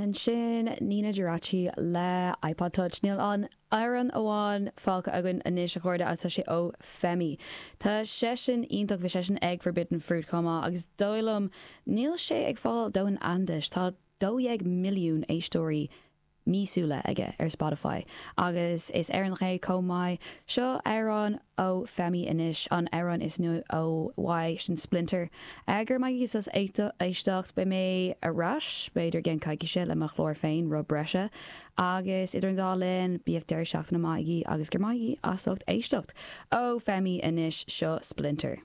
Ansin Nina Geraci le iPod Touch. Níl ach amhrán amháin fágtha againn anois a chairde agus tá sé ó Femi. Tá seisean iontach, bhí seisean ag Forbidden Fruit chomh maith agus dóigh liom níl sé ag fáil dóthain aitheantais. Tá 12 milliún éisteoirí míosúla aige ar Spotify agus is Éireannach é chomh maith. Seo amhrán ó Femi anois, an amhrán is nua ó uaidh, sin Splinter. Go raibh maith agaibh as éisteacht. Beidh mé ar ais, b'fhéidir i gceann coicíse le mo chlár féin, Rud Breise. Agus idir an dá linn, bíodh deireadh seachtaine maith agaibh agus go raibh maith agaibh as ucht éisteacht. Ó Femi anois, seo Splinter.